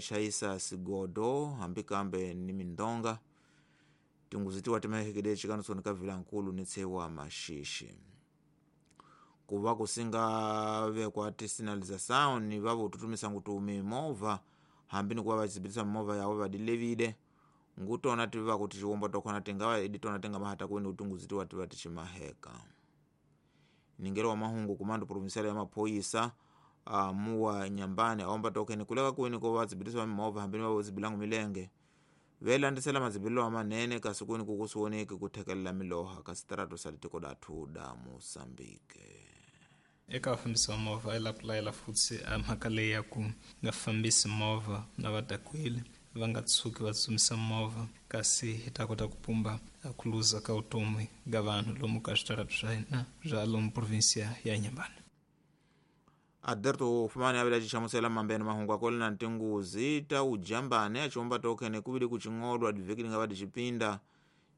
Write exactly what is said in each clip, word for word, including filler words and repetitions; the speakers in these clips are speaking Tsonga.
chayisa sigodo hambi kambe ni mindonga tinguzi tiwa timahekede chikanisoni ka vilankulu ni tsewa maxixi kuva kusinga vekwa tisinalização ni vavo tutumisa ngutu mimovha hambi ni kuva vachizibitisa mimovha yavo vadilevile ngutona tiva kuti chiwombo tokona tingava idi tona tingamahata kwini utunguzi tiwa tiva tichimaheka ningelo wa mahungu kumando provincial ya maphoyisa uh, muwa nyambani aomba tokeni kuleka kwini ko vadzibitiswa mimovha hambi ni vavo zibilangu milenge velandisela madzibililo amanene kasi kwini kukusiwoneki kuthekelela miloha kasi tarato sa litiko dathu da Moçambique. Eka vafambisi va movha i lapulayela futhi a mhaka leyi ya ku nga fambisi movha na va dakwile va nga tshuki va tsutsumisa movha kasi hi ta kota ku pumba ku luza ka vutomi ka vanhu lomu ka switarata swa hina bya lomu provinsia ya Inhambane. Aderto fumani avila chichamusela mambeni mahungu akoli na ntinguzi ta ujambane achiomba tokene kuvili kuching'odwa diviki lingava dichipinda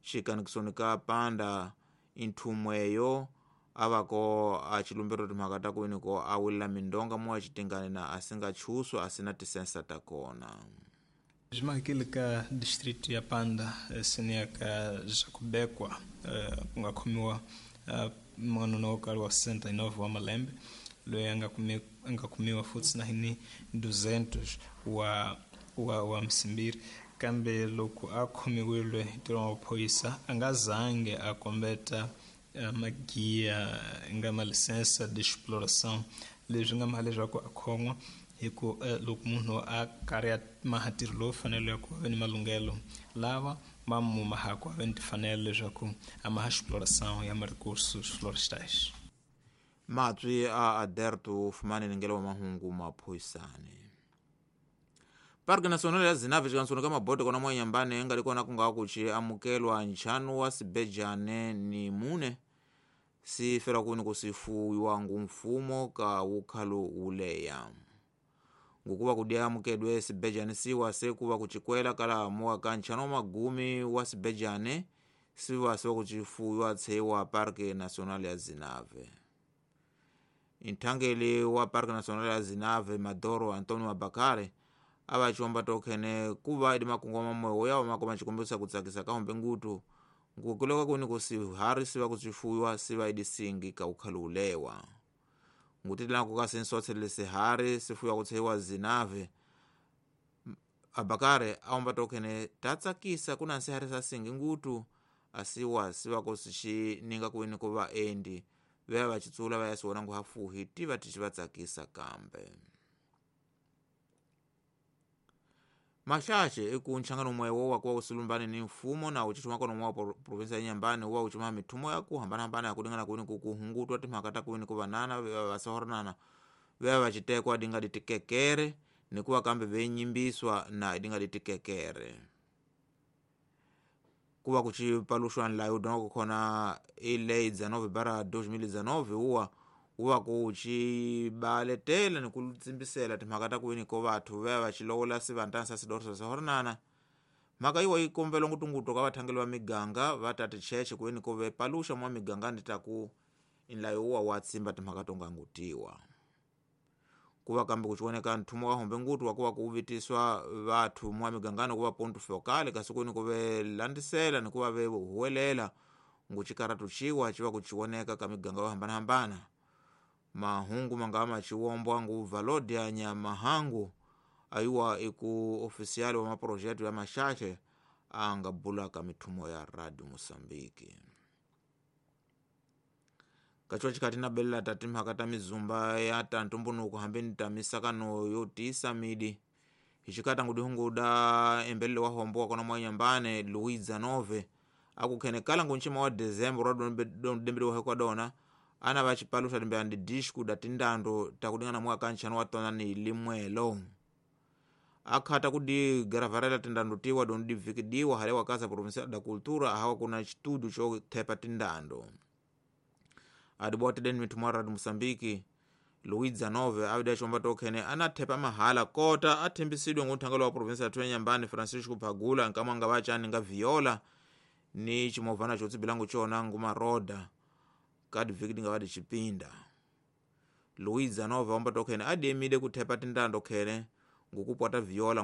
chikanikisoni ka panda inthumweyo avako achilumbiro timhaka ta kwiniko awilila mindonga muwa achitingane na asingatchuswa asina tisensa takona. Zwimakile ka distrito ya Panda seniya ka Jacobekwa ku nga khomiwa n'wanuna wo karhi wa sessenta e nove wa malembe loyi a nga kumi a nga kumiwa futhi na hini duzentos wa wa wa msimbiri kambe loko a khomiwile hi ntirho wa maphorisa a nga zange a kombeta magiya nga ma licença de exploração leswi nga maha leswaku a khon'wa hi ku loko munhu a karhi a maha ntirho lowu fanele ya ku va ni malunghelo lava va mu mahaku a va ni timfanelo leswaku a maha exploração ya ma-recursos florestais. Matswi a Aderto fumani ningelo wa mahungu maphoyisane. Parque Nacional ya Zinave chikansoni ka mabote kona mwa Inhambane engali kona kunga kuchi amukelwa nchanu wa sibejane ni mune sifera kuni kusifuwiwa ngu mfumo ka ukhalu uleya ngukuva kudia amukedwe sibejane siwa sekuva kuchikwela kala muwa ka nchanu wa magumi wa sibejane siwa siwa kuchifuwiwa tsewa Parque Nacional ya Zinave. Inthangeli wa Parque Nacional ya Zinave Madoro Antonio Abakare avachiomba tokhene kuva idi makungu mamwewo yawo makoma chikombesa kutsakisa kahombe ngutu ngukuleka kuni kusihari siva kuchifuwiwa siva idi singi ka ukhalu ulewa ngutilanku kasinsotsele sihari sifuwiwa kutseiwa Zinave. Abakare aomba tokhene tatsakisa kuna nsihari sa singi ngutu asiwa siva kusichininga kwini kuva endi vea vachitsula vayasiwona nguhafuhi tiva tichivatsakisa kambe. Maxaxe iku nchangano mwewo wakuwa usilumbani ni mfumo na uchithuma kono mwa provinsia ya Inhambane wa uchuma mithumo ya kuhambanahambana yakulingana kwini kukuhungutwa timhaka ta kwini kuvanana vasohoranana vea vachitekwa dinga ditikekere nikuwa kambe venyimbiswa na dinga ditikekere kuva kuchipalushwa nlayo dongo kukhona ilei dezenove bara dois mil e dezenove uwa uwa kuchibaletela nikulutsimbisela timhaka ta kwini ko vathu vea vachilowola sivantansa sidorso sahoranana mhaka iwa ikombela ngutunguto ka vathangeli va miganga va ta ticheche kwini ko vepaluxa mwa miganga ni taku inlayo uwa wa tsimba timhaka to ngangutiwa kuva kambe kuchioneka nthumo wa hombe ngutu wakuva kuvitiswa vathu mwa migangano kuva ponto focal kasi kwini ko velandisela nikuva vehuwelela nguchikaratu chiwa chiva kuchioneka ka miganga yo hambanahambana. Mahungu mangama chiwombwa ngu valodia nyamahangu ayuwa iku ofisiali wa maprojeto ya mashache angabula ka mithumo ya Radio Mosambiki. Kachuwa chikati na bela tatimhaka ta mizumba ya tantumbunuku hambeni ta misakano yotisa midi hichikata ngudihungu da embelele wa hombo wa kona mwa Inhambane Luiza Nove akukhenekala ngunchima wa Dezembro rodondembele wa hekwa dona ana vachipalusha limbe andi disku da tindando takudingana mwaka nchano watona ni limwelo akhata kudi garavarela tindando tiwa dondi vikidiwa hale wakasa provincia da cultura hawa kuna chitudu cho thepa tindando adibote den mitumara di Mosambiki Luiza Nove avida chomba tokhene anathepa mahala kota athembisidwe nguthangelo wa provincia ya Inhambane Francisco Pagula nkamanga vachani nga viola ni chimovana chotsibilangu chona ngumaroda kadi viki nga vadi chipinda Luiza Nova omba tokhene adiemide kuthepa tindando khene ngukupwata viola.